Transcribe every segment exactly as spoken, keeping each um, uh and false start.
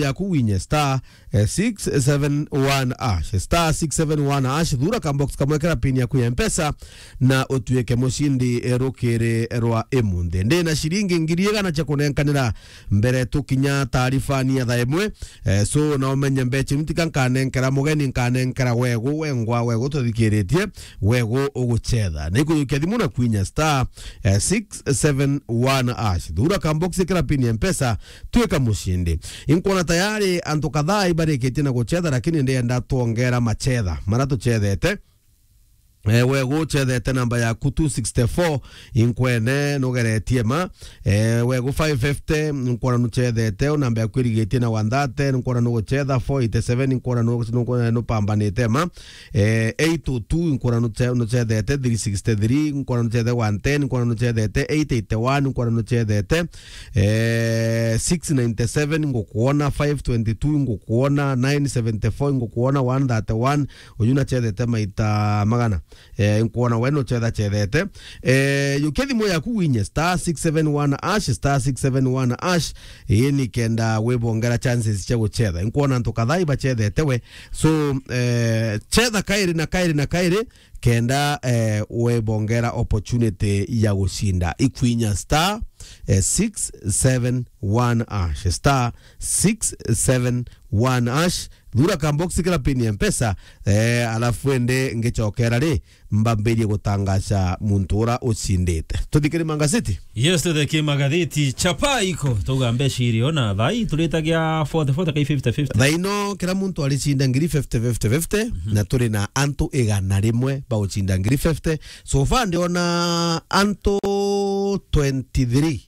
yaku winye star, eh, six seven one hash, star six seven one hash, thura ka box kamwe kera pin yaku ya Mpesa, na utuike mucindi, eh, rukiri rwa imunthi. Ndi na ciringi ngiri igana cia kunenkanira mbere tukinya taarifani ya thaa imwe. Eh, so, na umenye mbecha iu ntika nkanenkera mugeni, nkanenkera wegu, wengwa, wegu tuthikiritie, wegu uguchetha. Na ikujukia thimu na kwinya star, eh, six seven one hash. Thura ka box kera pin ya Mpesa, tuika mucindi. Inkwona tayari antu kadhaa ibarikitie na guchetha, lakini ndienda twongera machetha mara tuchethete. Eh, wegu uchethete namba yaku two sixty-four, inkwene nugeretie ma. Eh, wegu five fifty, nkwona nuchethete, namba yaku irigitie na one thirty, nkwona nuguchetha four eighty-seven, nkwona nu-, nu-, nupambanite ma. Eh, eight oh two, nkwona nuche-, nuchethete three sixty-three, nkwona nuchethete one ten, nkwona nuchethete eight eighty-one, nkwona nuchethete, eh, six ninety-seven, ngukwona five twenty-two, ngukwona nine seventy-four, ngukwona one thirty-one, uyu nachethete maita magana. Eh, nkwona we nuchetha chethete. Eh, yukia thimu yaku winye star six seven one hash, star six seven one hash, ii ni kenda wibongera chances cia guchetha. Nkwona antu kadhaa ibachethete we. So, eh, chetha kairi na kairi na kairi, kenda, eh, wibongera opportunity ya gucinda. Ikwinya star, eh, six seven one hash, star six seven one hash. Thura ka box kira pin ya Mpesa, eh, alafu ende ngichokera ri, mbambirie gutangaca muntu ura ucindite. Tuthikire magazeti? Yes, tuthike magatheti. Chapa iko, tuga mbeca irio na thai, turitagia forty forty kai fifty fifty. Thaino, kira muntu aricinda ngiri fifty, fifty, fifty, na turi na antu igana rimwe ba gucinda ngiri fifty. So far, ndiona antu twenty-three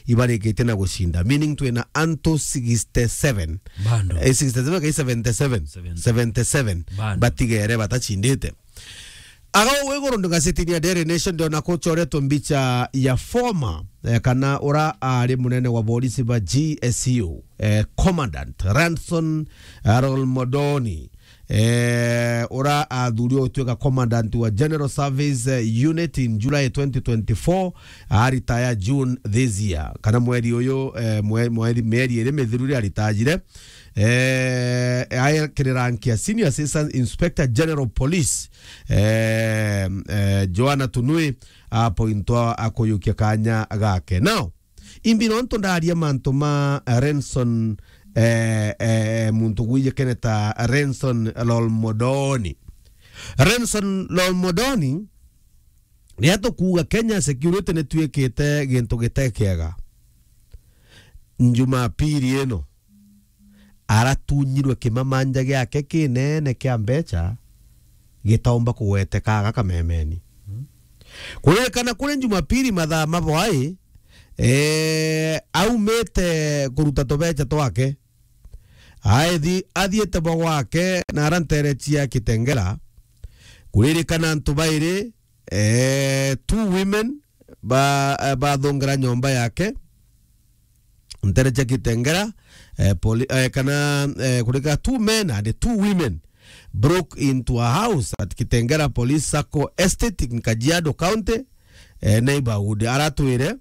ibarikitie na gucinda, meaning twina antu sixty-seven. Bando. Eh, sixty-seven kai seventy-seven? Seventy. Seventy-seven. Bando. Batigere batacindite. Aga uu iguru ndi gazetini ya Daily Nation, ndiona kuchoretwe mbicha ya former, eh, kana ura ari munene wa borisi ba G S U, eh, Commandant Ranson, eh, Lolmodoni, eh, ura athurirwe gutuika commandant wa General Service, eh, Unit in July twenty twenty-four, aritaya June this year, kana mweri uyu, eh, mwe-, mweri, mieri iri mithiru ri aritajire. Eh, aekire rank ya Senior Assistant Inspector General Police, eh, eh, Joanna Tunui apointwa akuyukia kanya gake. Now, imbi nontu ndaria mantu ma, eh, Renson, eh, eh, muntu gwijikene ta Renson Lolmodoni. Renson Lolmodoni, riria tukuuga Kenya security nituikite gintu gite kiega, Njumapili ino aratunyirwe kimamanja giake kinene kia mbecha gitaumba kugweteka aga kamemeni. Kuririkana kuri Njumapili mathaa ma bwai, eh, aumite kuruta tubecha twake, aithi-, athiite bwa gwake na ara ntere cia Kitengela. Kuririkana antu bairi, eh, two women ba, eh, bathungira nyomba yake ntere cia Kitengela, eh, poli-, eh, kana, eh, kurika two men and two women broke into a house at Kitengela Police Sacco Estate in Kajiado County, eh, neighborhood, aratwire,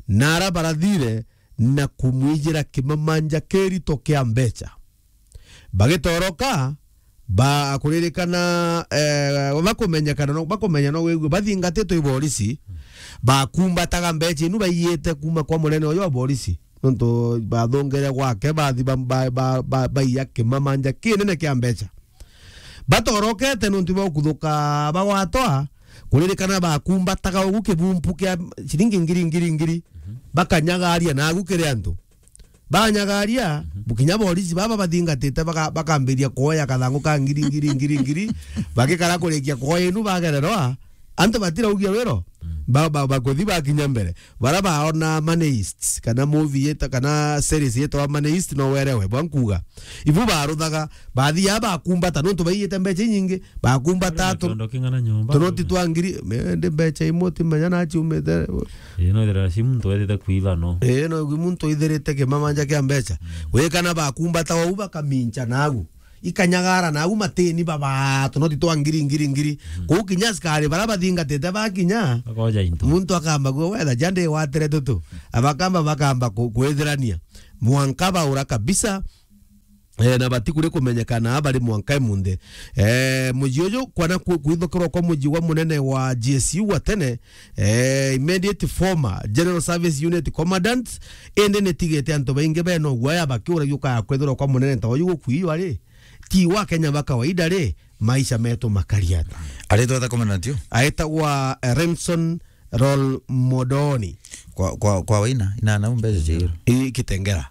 na ara barathire na kumwijira kimamanja kirito kia mbecha. Bagitoroka, ba-, kuririkana, eh, bakumenyekana no, bakumenya no wigua, bathingatitwe i borisi, bakumbataga mbecha inu baiyite kuma kwa munene uyu wa borisi. Nontu bathungire gwake, bathi ba-, ba-, ba-, ba-, baiya kimamanja kinene kia mbecha. Batorokete nontu bwa kuthuka bagwatwa, kuririkana bakumbataga ugu kibumpu kia ciringi ngiri, ngiri, ngiri, bakanyagaria nagu kiri antu. Banyagaria, bukinya borisi baba bathingatite baka-, bakambiria kuoya kathangu ka ngiri, ngiri, ngiri, ngiri, bagikara kurikia kuoya inu bagererwa, antu batiraugia wiro, ba-, ba-, bakuthi bakinya mbere. Bara baona Money Heist, kana movie yeta-, kana series yetwa Money Heist, no werewe bwa nkuga. Ibu baruthaga, bathia bakumbata, nontu baiyite mbecha inyingi, bakumbata. Ari na tu-, kiondo king'ana nyomba, tunoti twa ngiri, me-, ndi mbecha imwe timenya na ciumite. Ii, no ithira si muntu wethite kuiba, no. Ii, no igwi muntu ithirite kimamanja kia mbecha. Wikana bakumbata wau bakamincha nagu. Ikanyagara nagu matini baba, tunoti twa ngiri, ngiri, ngiri. Kuu kinya askari bara bathingatite bakinya, bakoja into. Muntu akamba kuo, wetha ja ndi watire tutu. Abakamba bakamba ku-, kwithirania. Mwanka baura kabisa. Eh, na batikuri kumenyekana bari mwanka imunthi. Eh, muji uju kwana ku-, kwithukirwa kwa muji wa munene wa G S U wa tene, eh, immediate former General Service Unit Commandant, indi nitigite antu baingi bena uguaya bakiuragia ukaya kwithirwa kwa munene ta uyu gukuiywa ri, ti wa Kenya ba kawaida ri, maisha metu makari ata? Aritwa ta commandant yu? Aitagwa, eh, Remson Rol Modoni. Kwa, kwa, kwa waina, ina na mbeca cia iro. I Kitengera.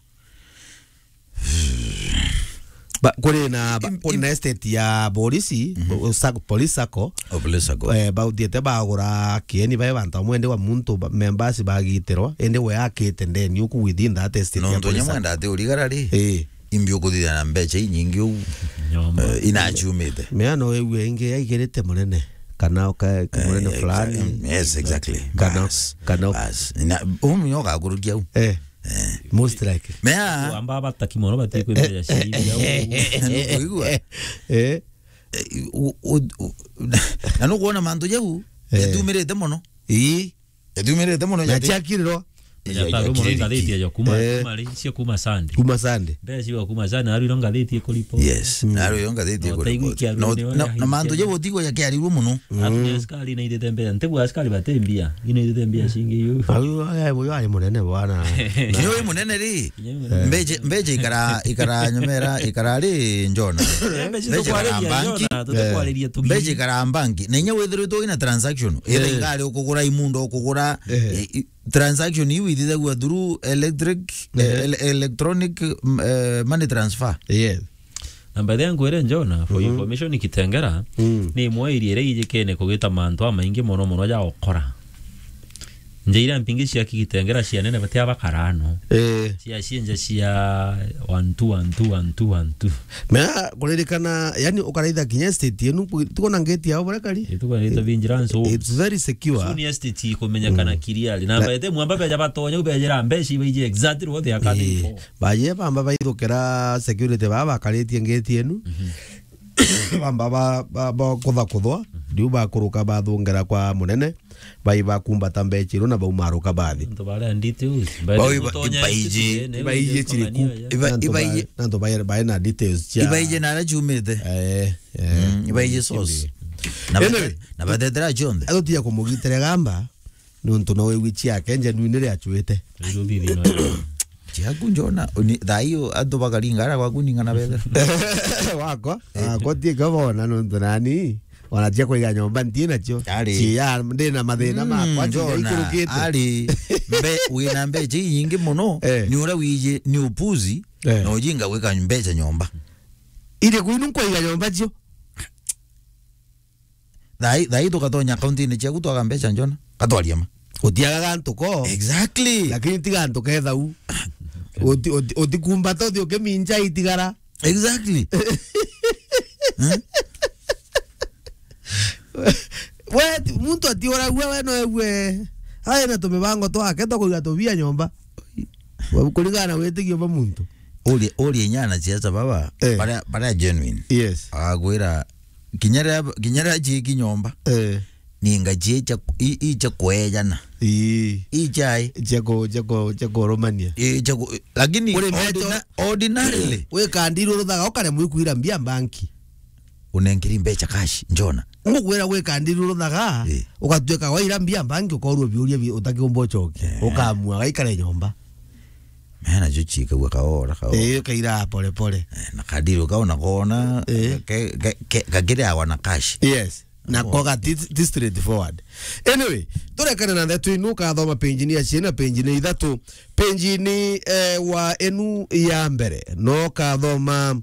Ba-, kuri na ba-, Im-, kuri im- na estate ya polisi, Mhm. o-, sa-, police sacco. O police sacco. Eh, bauthiete bagura kieni bae bantu bamwe ndi wa muntu ba-, members bagitirwa, indi we akite ndeni uku within that estate ya Nontu police nyamwe sacco. Ndati urigara ri, Eh. Imbi ukuthithia na mbeca inyingi uu, Nyomba. Eh, inachumite. Mea no ewe ingi yaigirite munene, kana uka-, Eh, munene exa-, fulani. Yes, exactly. Kana, Bas. Kana Bas. Na, umu nyoka kurukia u. Eh. Eh. Most likely. Mea. Amba bataki mono bati kwithira ciria u. Nikuigua? Eh. Eh, u-, u-, u-, na nukwona mantu jau, Eh. Yatumirite mono. Ii. Yatumirite mono. Na yati- ciakirirwa. Yataru mono ngathiti ya kuma, Eh. Kuma ri, cia kuma Sunday. Kuma Sunday. Mbeca cia kuma Sunday, naru iro ngathiti ikuripo. Yes. Mm. Naru iro ngathiti No, ikuripo. Taigwi kiaru No, ni na, waya na mantu hiti. Jau utigwa yakiarirwo mono. Atu ni askari na ithite mbeca. Ntibu askari bate mbia. Ino ithite mbia cingi yu. Au, ai, uyu ari munene bwana. Nyo wi munene ri? Nyo wi munene. Mbeje, mbeje ikara, ikara nyomera, ikara ri njona. Mbeca Mbeje ikara tukwariria banki. Njona, tutakwariria tugi. Mbeje ikara banki. Na inya withiritwo ina transaction. Ira Eh. Ingari ukugura imundo ukugura, Eh. I, i, transaction iu ithithagua through electric, eh, Ehe. ele-, electronic, mm, eh, money transfer. Yes. Na by the way, nkwire Njona, for Mhm. information, Kitengera, Mm. ni imwe iria iria ijikene kugita mantu amaingi mono mono ja ukora. Nja iria mpingi cia Kitengera cia nene batia bakarano. Eh. Cia cienja cia one two, one two, one two, one two. Mea kuririkana, yani, ukaraitha kinya estate yenu, tuko na ngeti yao baria kari? Ituko na ngeti vigilance. It's very secure. Soon estate ikumenyekana Mm. clearly. Na Na baete mwamba beja batonya, ubejera mbeca ibaiji exactly what they are coming Eh. For. Baye bamba baithukira security baba bakaritie ngeti yenu. Mhm. Bamba ba, ba, ba kutha kuthwa, Mhm. Riu bakuruka bathungera kwa munene, bai bakumbata mbeca iru na baumaruka bathi. Antu baria details. Bau iba-, ibaiji. Ibaiji chiriku. Iba-, antu ibaiji. Ba-, antu bae, bae na details cia Ibaiji na ara ciumite. Eh, eh. Mm, ibaiji source. Na Anyway, bate-, na batetera cionthe. Atutia kumugitire gamba. Nontu no wigwi ciake njenuine ria acuite. Riu thithi no. Ciaku Njona, uni-, thaa iyo antu bakaringa ara gwaku ning'ana bethera. Wakwa, Eh. Wakwa tiga bona nontu nani, ona cia kwiga nyomba nti nacio. Ari. Cia, ndi na mathina Mm, makwa, Njona, ikurukite. Ari, mbe-, wina mbeca inyingi mono, Eh. Ni uria wiji, ni upuzi, Eh. Na ujinga gwika mbeca nyomba. Iri kwinu nkwiga nyomba cio. Thai, thai tukatonya akaunti-ini ciaku twaga mbeca Njona. Katwaria ma. Utiagaga ntuko. Exactly. Lakini tiga ntuko ethau. Uti, uti, utikumbata uthi ukiminja itigara. Exactly. Eh? We, muntu atiuragua we no egue. Ae na tumibango twake twa kuiga tubia nyomba. Kurigana na witigio ba muntu. Uri, uri nyana ciaca baba, Eh. Baria, baria genuine. Yes. Agwira, kinya ria, kinya ria ciiki nyomba. Eh. Ni ngaci icha, i-, icha kweejana. Ii. Ichai. Icha ku-, icha ku-, icha kurumania. Icha ku-, lakini Uri mbeca ordina-, ordinarily. Wikandiri uruthaga ukaremwa ikwira mbia mbanki. Unenkiri mbeca cash, Njona. Ngugwira gwikandiri uruthaga, Eh. Ugatuika waira mbia mbanki ukorwo biuria bi-, utakiumba ucoke. Eh. Ukamua gaikare nyomba. Mena jo chikagua kaora, kaora. Eh, kaira pole pole. Eh, na kadiri ukaona kona, Eh. ke, ke, ke, kakire awa na cash. Yes. Na Oh. Koga ti, ti straightforward. Anyway, turekane na ndeto inu, ukathoma page ni ya ciana, page ni ithatu. Page ni, eh, wa enu ya mbere. No kathoma,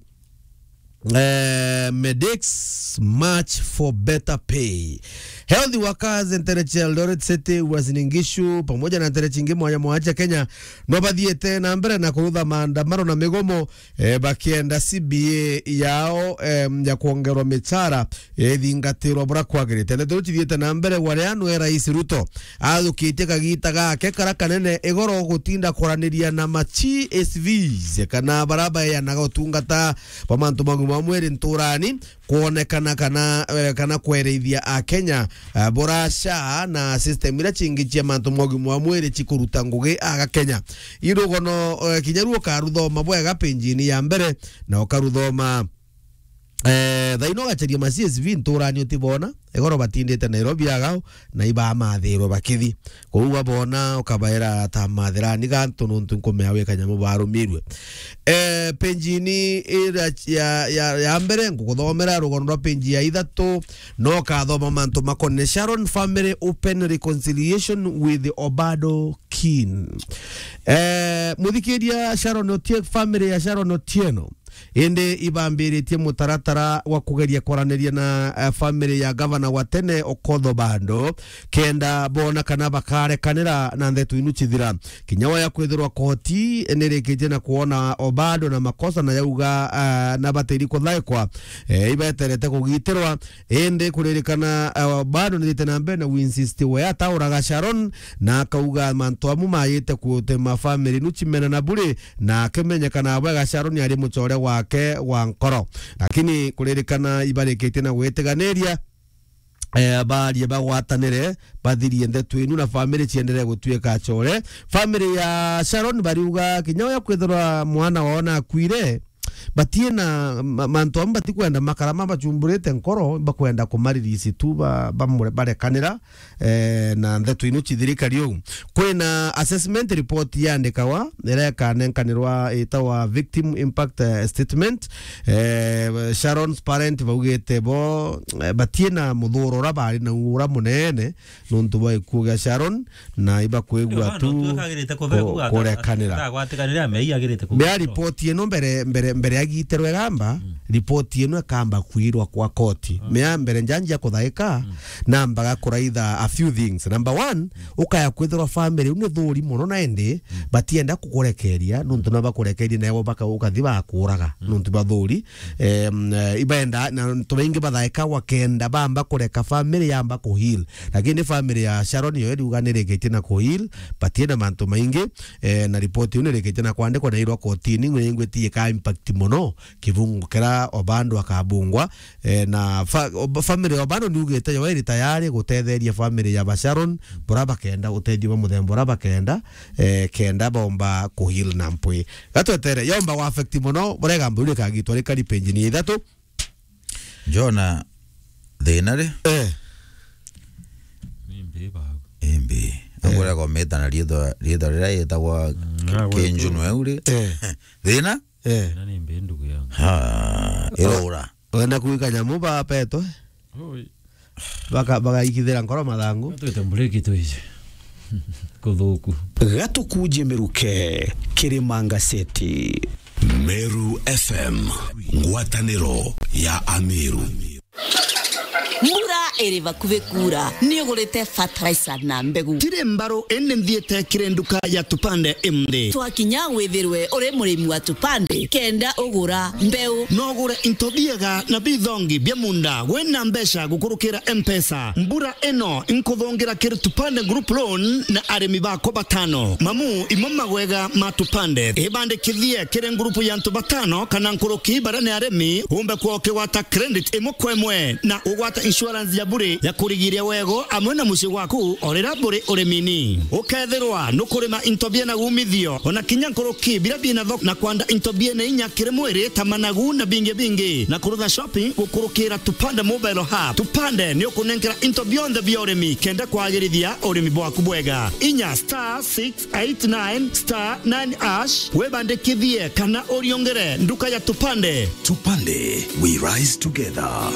eh, Medex March for Better Pay. Health workers ntere cia Eldoret City, Uasin Gishu, pamoja na ntere cingi mwanya mwanya cia Kenya, no bathiete na mbere na kurutha maandamano na migomo eh, bakienda C B A yao, em, ya kwongerwa michara, eh, ithingatirwa buria kwagirite. Ndeto iu cithiite na mbere, waria nwe Rais Ruto athukitie kagita gake kara kanene igoro gutinda kwaraniria na ma G S Vs kana baria baeanaga utungata bwa mantu ma wa mwiri nturani, kwonekana kana, eh, kana kwereithia Akenya, eh, buraca na system iria cingi cia mantu ma ugima wa mwiri cikuruta ngugi aga Kenya. Irugono, eh, kinya ru ukaruthoma bwega page-ini ya mbere, na ukaruthoma, eh, thaino ugacaria ma C S V nturani utibona, egoro batindite Nairobi agao, na ibamathirwe bakithi. Kou wabona ukabaira ta mathirani gantu nontu nkumea wi kanyamu barumirwe. Eh, page-ini ira ya, ya, ya mbere, ngukuthomera rugono rwa page ya ithatu, no ukathoma mantu makonene Sharon family open reconciliation with Obado kin. Eh, muthikiria Sharon Otie-, family ya Sharon Otieno, indi ibambiritie mutaratara wa kugeria kwaraniria na, eh, family ya gavana wa tene Okoth Obado, kenda bona kana bakarekanira na ndeto inu cithira. Kinya wa ya kwithirwa koti nirikitie na kwona Obado na makosa na yauga, eh, na batiri kuthaikwa, eh, ibeterete kugitirwa. Indi kuririkana, eh, Obado nithite na mbere na winsist we atauraga Sharon, na akauga mantu amu mayite kutema family nu cimena na buri, na akimenyekana bwega Sharon ari mucore wake wa nkoro. Lakini kuririkana ibarikitie na gwitiganiria, eh, barie bagwatanire, bathirie ndeto inu na family cienderee gutuika acore. Family ya Sharon bariuga kinya uya kwithirwa mwana wao nakuire, batie na ma-, mantu amu batikwenda makara mabachumburite nkoro, bakwenda kumaririsi tu ba-, bamure-, barekanira, eh, na ndeto inu cithirikari uu. Kwina assessment report yandikawa, iria ikanenkanirwa itawa victim impact, eh, statement. Eh, Sharon's parent baugite bo, eh, batie na muthuro ura bari na ura munene, nontu bwa gikuo gia Sharon, na ibakwigua tu kurekanira. Mea ripoti ino mbere, mbere, mbere agitirwe gamba, ripoti ino ikamba kwirwa kwa koti. Mea mbere njanjia kuthaika, nambaga kuraitha a few things. Number one, ukaya kwithirwa family uu ni thuri muno na indi, batienda kukurekeria, nontu no bakurekerie, nawe baka-, ukathi bakuraga, nontu bwa thuri. Em, eh, ibenda, na antu baingi bathaikagwa kenda bamba kureka family yamba kuheal. Lakini family ya Sharon yo iriuga nirikitie na kuheal, batie na mantu maingi, eh, na ripoti iu nirikitie na kwandikwa na irwa kotini, ngwingwiti ika impact muno kibungu kira Obado akabungwa, eh, na fa-, ob-, family ya Obado niugite yo iri tayari gutetheria family ya ba Sharon, bura bakenda utethio bwa muthemba ura bakenda, eh, kenda bomba kuheal na mpwi. Gatwetere, yomba gwa affect muno, burega mburi kagitwa rikari page-ini ya ithatu. Jona, thina ri? Eh. Ni mbi bagu. Imbi. Eh. Agwira gometa na riitwa, riitwa riria yitagwa, mm, ki-, agwira kinjunu tu eu ri? Eh. Thina? Eh. Na ni mbi ndugu yangu. Ha, irora. Wenda kuika nyamu ba petwe? Oi. Baka-, bagaikithira nkoro mathangu. Twite mburiki twije. Kuthuku. Gatukujie miruke, Kirima Ngaseti. Meru F M, ngwataniro ya Ameru. Mbura iri bakuvi kuura, ni ugurite fertilizer na mbegu? Tiri mbaru, indi nthiite kiri nduka ya Tupande imdi. Twakinya withirwe uri murimi wa Tupande, kenda ugura mbeu. No ugure into biega na bithongi bia munda wina mbeca gukurukira M-Pesa. Mbura ino nkuthongira kiri Tupande Group Loan na arimi bakwa batano. Mamu, imo magwega ma Tupande. Ibandikithie kiri ngurupu ya antu batano kana nkuruki baria ni arimi, umbe kwa ukigwata credit imwe kwa imwe na ugwata insurance ya bure ya kurigiria wego amwe na mucii gwaku o riria buri urimini. Ukethirwa nukurima into biena umithio, ona kinya nkuruki biria biena thoko, na kwanda into biena inya kiri mwiri ta managu na bingi bingi, na kurutha shopping gukurukira Tupande Mobile Hub. Tupande ni ukunenkera into bionthe bia urimi kenda kwagirithia urimi bwaku bwega. Inya star six eight nine star nine hash webandikithie kana uriongere nduka ya Tupande. Tupande, we rise together.